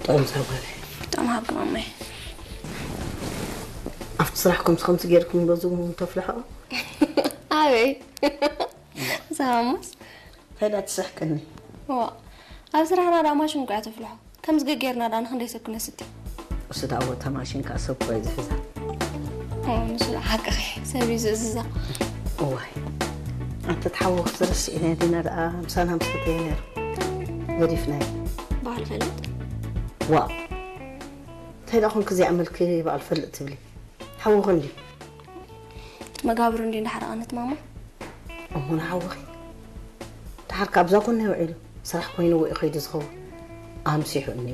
ጥዑም ዛጓለ። ጥዑም ሃብኪ ማማይ። ኣብቲ ስራሕ ከምዚ ከምዚ ጌርኩም በዚ እውን ተፍልሖ። ኣበይ? ሳሙስ? እንታይ ዳ ትስሕቅኒ? ዋ፣ ኣብ ስራሕና ዳ ማሽን እኮ እያ ተፍልሖ። ከምዚ ገጌርና ዳ ንክንደይ ሰብ ክነስቲ? እሱ ዳ ወታ ማሽን ከዓ ሰብ እኮ እዩ ዝሕዛ። ኦ፣ ንሱ ዳ ሓቅኺ፣ ሰብ እዩ ዝእዝዛ። እዋይ፣ ኣንተ ተሓወክ ዝረስዒና ዲና ደኣ ምሳና ምሰተየ ነይሩ። ገዲፍናዮ። በዓል ፈልጥ? ዋው፣ እንታይ ደኣ ኮንክ እዚኣ መልክ በዓል ፈልጥ ትብሊ? ሓወኺ እንዲ? መጋብሩ እንዲ እንዳሓረቐነት ማማ። እሞ ንሓወኺ ድሓር ካብዛ ጎና ይውዒሉ ስራሕ ኮይኑ ወይ ከይዱ ዝኸውን ኣምሲሑ እኒ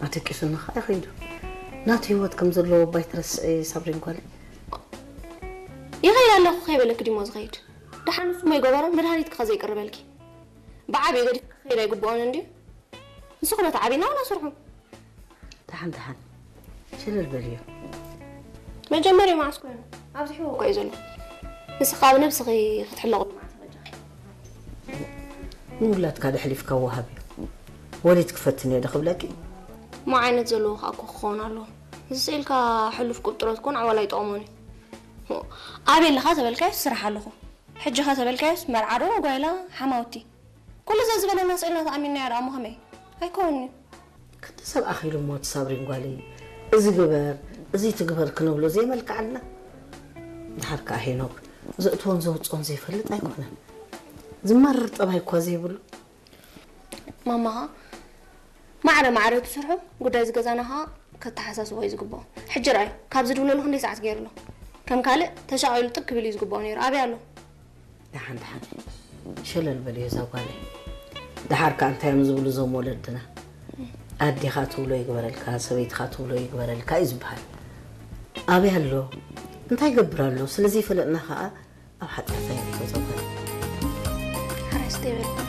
ኣተቂሱኒ ከዓ ይኸይዱ ናቱ ህይወት ከም ዘለዎ ባይ ትረስዒ ሳብሪን ጓለይ። ይኸይድ ኣለኹ ከይበለክ ዲሞ ዝኸይድ? ደሓን ንሱ ሞ ይገበሮ መድሃኒት ክኸ ዘይቅርበልኪ? ብዓብዩ ገዲፍ ክኸይድ ኣይግብኦን እንዲ? ንስኹ ነቲ ዓብና ዋላ ስርሑ። ደሓን ደሓን ሽልል በልዮ። መጀመርያ መዓስ ኮይኑ ኣብዚሕዎ እኮ እዩ ዘሎ። ንስኻ ኣብ ነብስኺ ክትሕለቑ መዓስ በጃኺ። ንውላድካ ደሕሊፍካ ወሃብ እዩ። ወሊድ ክፈትን እየ ዶ ክብለኪ? እሞ ዓይነት ዘለዎ ከዓ እኮ ክኸውን ኣለዎ። እዚ ስኢልካ ሕሉፍ ቁጥሮት ኮን ዓዋላ ኣይጠቕሞን እዩ። ኣበይ ኣለኻ ተበልካዮስ ስራሕ ኣለኹ። ሕጂ ኸ ተበልካዮስ መርዓ ዶ ጓይላ ሓማውቲ። ኩሉ ዘዝበለና ስኢልና ተኣሚንናዮ ደኣ እሞ ከመይ? ኣይከውን'ዩ። ክንዲ ሰብ ኣኺሉ እሞ እቲ ሳብሪን ጓለይ እዚ ግበር እዚ ትግበር ክንብሎ ዘይመልክዓልና። ድሓር ከዓ ሄኖክ ዘእትዎን ዘውፅኦን ዘይፈልጥ ኣይኮነን። ዝመርር ጠባይ እኳ ዘይብሉ። ማማ ኸኣ ማዕረ ማዕረ ትስርሑ ጉዳይ ዝገዛና ኸኣ ከተሓሳስቦ እዩ ዝግብኦ። ሕጂ ረኣዩ ካብዚ ድውለሉ ክንደይ ሰዓት ገይሩ ኣሎ። ከም ካልእ ተሻቒሉ ጥብ ክብል እዩ ዝግብኦ ነይሩ። ኣበይ ኣሎ? ደሓን ደሓን ሸለል በልዮ እዛ ጓለይ። ደሓር ከኣ እንታይ እዮም ዝብሉ እዞም ወለድና? ኣዴኻ ትብሎ ይግበረልካ፣ ሰበይትኻ ትብሎ ይግበረልካ እዩ ዝበሃል። ኣበይ ኣሎ? እንታይ ይገብር ኣሎ? ስለ ዘይፈለጥና ከኣ ኣብ ሓጢኣት ኣየእትዎ እዛ ጓለይ። ሓራይ ስተይ በል።